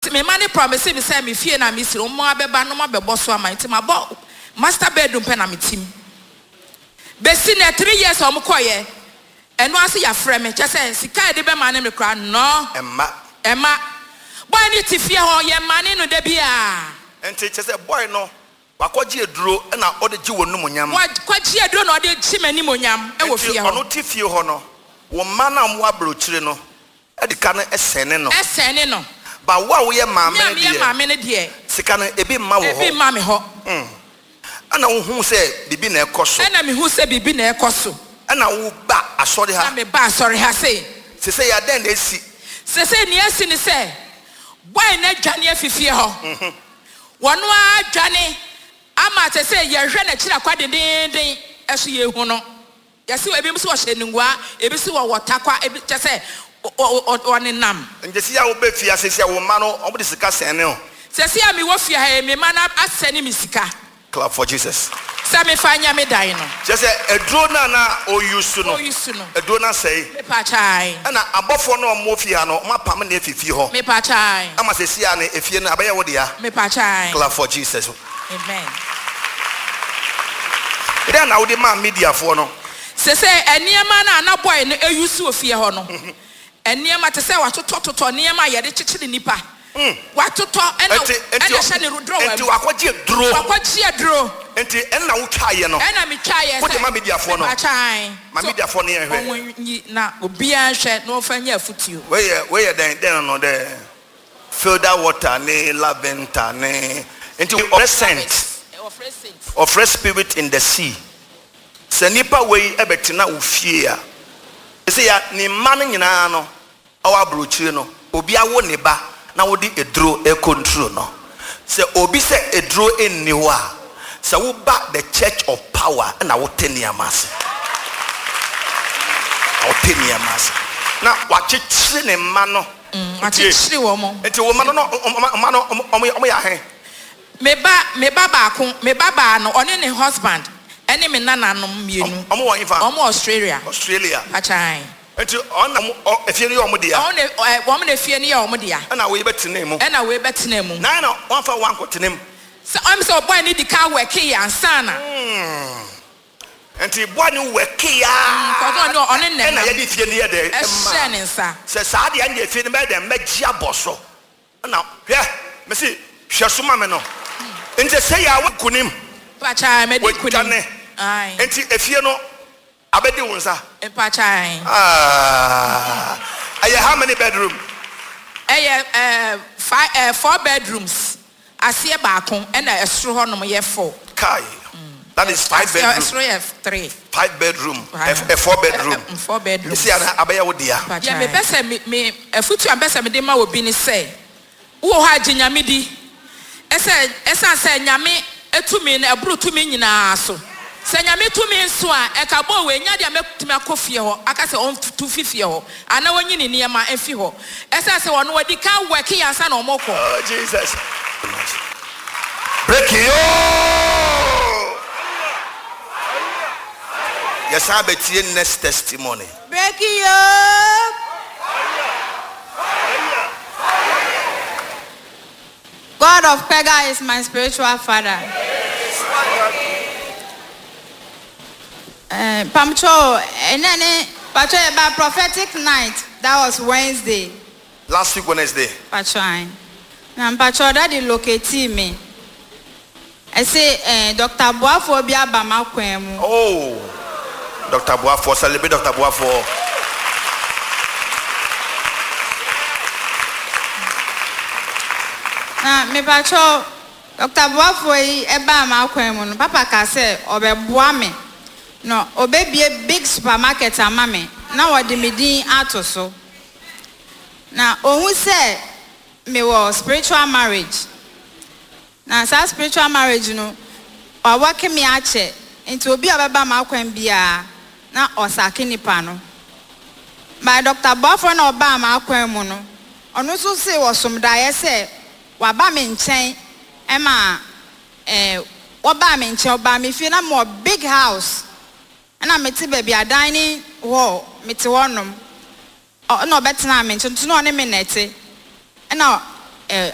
Nti me mma no promise me sɛ me fie no a mesi no wɔn abɛba na wɔn abɛbɔ so ama nti mabɔ master bedroom pɛ na mete mu. Besi nnɛ 3 years a wɔn kɔeɛ ɛno ara nso yɛafrɛ me kyerɛ sɛ sika a yɛde bɛma no me koraa nnɔ. Ɛmma. Ɛmma. Boy no te fie hɔ yɛmane no da biara. Nti kyerɛ sɛ boy no wakɔgye aduro na ɔde gye w'anumonyam. Wakɔgye aduro na ɔde gye m'animonyam wɔ Nti fie hɔ. ɔno te fie hɔ no, wo mma no a wɔwɔ aburokyire no de ka no sɛne no. Sɛne no. But wo a woyɛ maame Me a no meyɛ deɛ. maame no deɛ. Sika no ebi mma wo hɔ. Ebi mma me hɔ. Ɛna wohuu sɛ biribi na ɛkɔ so. Ɛna mehuu sɛ biribi na ɛkɔ so. Ɛna woba asɔre ha. Na meba asɔre ha sei. Sesei adɛn na asi? Sesei nea asi ne sɛ, boy no adwane afi fie hɔ. Wɔno ara adwane ama sesei yɛhwɛ n'akyiri akwa dendeenden so yɛnhu no. Yɛse ebinom se wɔhyɛ nungua, ebi se wɔwɔ takwa, ebi kyerɛ sɛ wɔnenam. Nti sesei a woba fie ha sesei a wo mma no wɔde sika sɛne wo? Sesei a mewɔ fie ha yi me mma no asɛne me sika. Clap for Jesus. Sɛ mefa nyɛ me dan no. Kyerɛ sɛ aduro no a na ɔ use no, Ɔ use no. aduro no asɛe. Mepakyae. Ɛna abɔfoɔ no a wɔwɔ fie ha no wɔn apam no afi fie hɔ. Mepakyae. Ama sesei a no efie no abɛyɛ wo dea. Mepakyae. Clap for Jesus. Amen. Dɛn na wode maa Mediafoɔ no? Sesei nneɛma no a na boy no use wɔ fie hɔ no, nneɛma te sɛ watotɔtotɔ nneɛma a yɛde kyekyere nnipa, watotɔ ɛna Nti, ɛna ɛhyɛ ne drawer nti mu. wakɔgye aduro. Wakɔgye aduro. Nti ɛna wotwaeɛ no? Ɛna metwaeɛ Wode sɛ ma Mediafoɔ no? mepaakyɛ ae. Ma So Mediafoɔ no yɛnhwɛ. wɔn nyi na obiara nhwɛ na wɔmfa nyɛ afutuo. Wei yɛ, wei yɛ dɛn, dɛn no dɛ? Filter water ne lavender ne nti ɔfrɛ scent ɔfrɛ spirit in the sea sɛ nipa wei ɛbɛtena wo fie a ɛsɛ ya ne mma no nyinaa no ɔwɔ aburokyire no obi awo ne ba na wode eduro ɛkontro no sɛ obi sɛ eduro nni hɔ a sɛ woba the church of power ɛna wote nneɛma ase na wote nneɛma ase na wakyekyere ne mma no. Wakyekyere wɔn. Nti wo mma no na mma no wɔn yɛ ahe? Me ba me ba baako me ba baa no ɔne ne husband ɛne me nananom mmienu. Wɔn wɔ hefa? Wɔn wɔ Australia. Australia. Pakyan. Nti wɔn na wɔn efie no yɛ wɔn dea? Wɔn na ɛ wɔn na efie no yɛ wɔn dea. Ɛna wei bɛ tena mu? Ɛna wei bɛ tena mu. Na ɛna wɔn anfa wɔn ankɔ tena mu? Sɛ ɔm sɛ ɔbɔe no di kan wɛke yɛ ansa na. Nti boy no workee aa ɛna yɛde fie no yɛ dɛn ɛmaa no. Sɛ saa deɛ ɛndeɛ fie no mɛyɛ dɛn mɛgye abɔ so ɛna hwɛ mese hwɛ so ma me no nti sɛ yɛ a woakunim wadwane nti efie no abɛdi wo nsa aah ɛyɛ how many bedroom? Ɛyɛ five four bedrooms. Aseɛ baako ɛna ɛsoro hɔ nom yɛ four. Kai that is five bedroom. Ɛsoro yɛ three. Five bedroom ɛ four bedroom. Four bedroom. Esi ana abɛyɛ wo dea. Deɛ me pɛ sɛ me me afutuo a me pɛ sɛ me de ma obi ne sɛ wo wɔ hɔ a gye Nyame di ɛsɛ ɛsan sɛ Nyame tumi no ɛboro tumi nyinaa so. Sɛ Nyame tumi nso a, ɛka bɔɔ wei nyɛ adeɛ a mɛtumi akɔ fie hɔ aka sɛ ɔntu mfi fie hɔ anaa ɔnyi ne nneɛma mfi hɔ. Ɛsiane sɛ ɔno wadi kan wɛke ansa na wɔkɔ. Oh Jesus breaking ooh Yɛsan bɛtie next testimony. Breaking yoo. God of Pega is my spiritual father. Eh, Pamcho, ɛnɛ ne Pacho yɛ prophetic night. That was Wednesday. Last week Wednesday. Pacho ayi. Na Pacho daddy locate me. Ɛse eh, Dr. Boafoɔ bi aba m'akwan mu. Oh, Dr. Boafoɔ, celebrate Dr. Boafoɔ. Na mepakyɛw, Dɔkta Boafoɔ yi baa m'akwan mu no, papa kaa sɛ ɔbɛboa me na ɔbɛbue big supermarket ama me na wɔde me din ato so. Na ɔhu sɛ mewɔ spiritual marriage. Na saa spiritual marriage no, wawɔke me akyɛ, nti obi a ɔbɛba m'akwan biara na ɔsake nipa no. But Dɔkta Boafoɔ no a ɔbaa m'akwan mu no, ɔno nso see ɔsom daeɛ sɛ waba me nkyɛn ma eh, wɔbaa me nkyɛn, ɔbaa me fie na mewɔ big house, ɛna mete baabi a dining hall, mete hɔnom, ɔ, ɛna ɔbɛtenaa me nkyɛn, nti na ɔne me na ɛte, ɛna eh,